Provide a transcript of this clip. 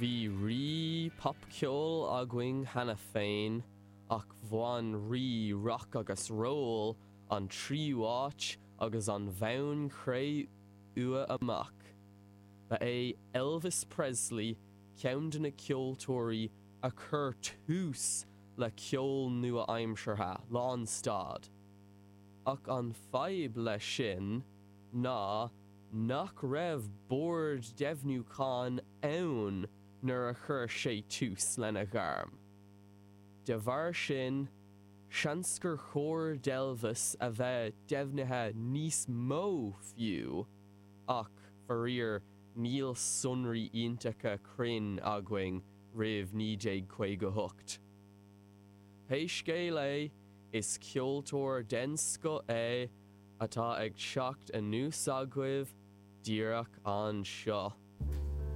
Bhí rí popcheoil againn cheana féin ach bhain rí rock agus roll an tríú háit agus an bhonn cré-umha amach. Ba é Elvis Presley ceann de na ceoltóirí a chuir tús le ceol nua-aimseartha lánstad. Ach an fadhb leis sin ná nach raibh bord deimhniúcháin ann nuair a chuir sé tús lena ghairm. De bharr sin, seans gur chóir d'Elvis a bheith deimhnithe níos mó fiú, ach, faraor, níl sonraí iontacha cruinn againn roimh 1958. Pé scéal é, is ceoltóir den scoth é atá ag teacht anuas agaibh díreach anseo.